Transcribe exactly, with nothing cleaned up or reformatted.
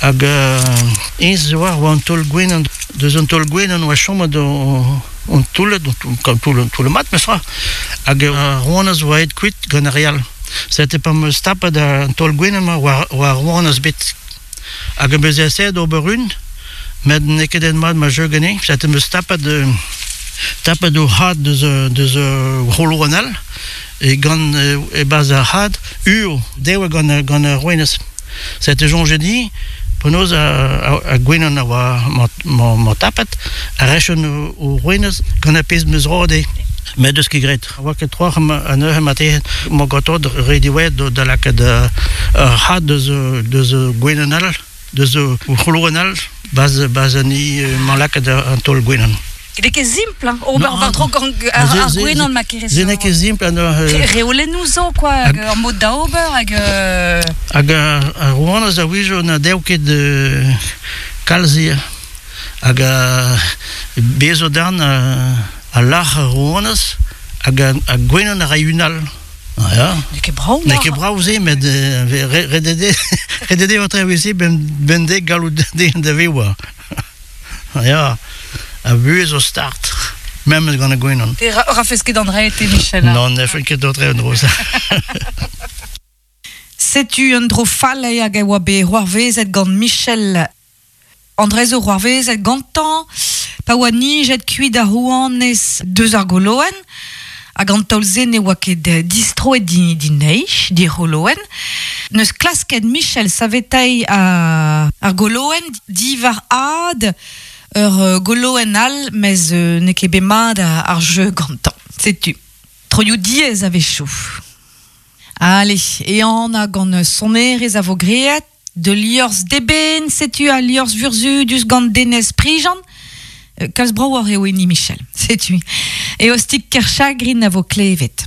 Hag eñ zo war oa an taol gwenan, deus an taol gwenan oa chomet an toullet, an toull, toull mat mestra. Hag ar rouanez oa aet kuit gant ar re all. Sete pa 'm eus tapet an taol gwenan-mañ oa oa ar rouanez bet. Hag am eus esaet ober un, met n'eo ket aet mat ma jeu ganin. Sete 'm eus tapet tapet o had deus deus c'holoenn all e gant e-barzh ar had uo dev gant gant ar rouanez. Sete soñjet din penaos ar gwenan a oa ma ma tapet a rechon o rouanez gant ar pezh 'm eus roet dezhe. Met deus ket graet. Oa ket troc'h anezhe marteze ma ganto re diwezhat da lakaat ar had deus deus gwenan all, deus c'holoenn all, baz baz an i ma lakaat an taol gwenan. N'eo ket simpl, hein, ober war-dro gant ar, ar gwenan ma kerez. Se n'eo ket simpl. Re, reolennoù zo, quoi, hag ur mod da ober, hag... Hag ar rouanez a-wezhioù na dev ket kalz ivez. Hag bez zo darn a lâr ar rouanez hag ar gwenan a ray un all. Ah, ya. N'eo ket brav. N'eo ket brav se, met ret eo ret eo se ben dek gallout den da vevañ. Ya. A buhez zo start, memes gant ar gwenan. Te rafes ket an dra-te, Michel? Non, ne fen ket d'autre un dro. Setu un dro fall hag a oa bet c'hoarvezet gant Michel. An dra zo c'hoarvezet gantañ, pa oa nijet kuit ar rouanez deus ar goloenn, hag an taol-se ne oa ket distroet di, di neich, di c'holoenn. Neus klasket Michel saveteiñ ar, ar goloenn diwar ad ur goloenn all, mez n'eo ket bet mat ar jeu gantañ. Setu. Troioù diaes a-wechoù. Allez, ehan gant sonerezh a vo graet, de liorzh d'eben, setu al liorzh vurzhudus gant Denez Prigent. Kalz bravoc'h eo hini Michel, setu. Eostig Kerchagrin a vo klevet.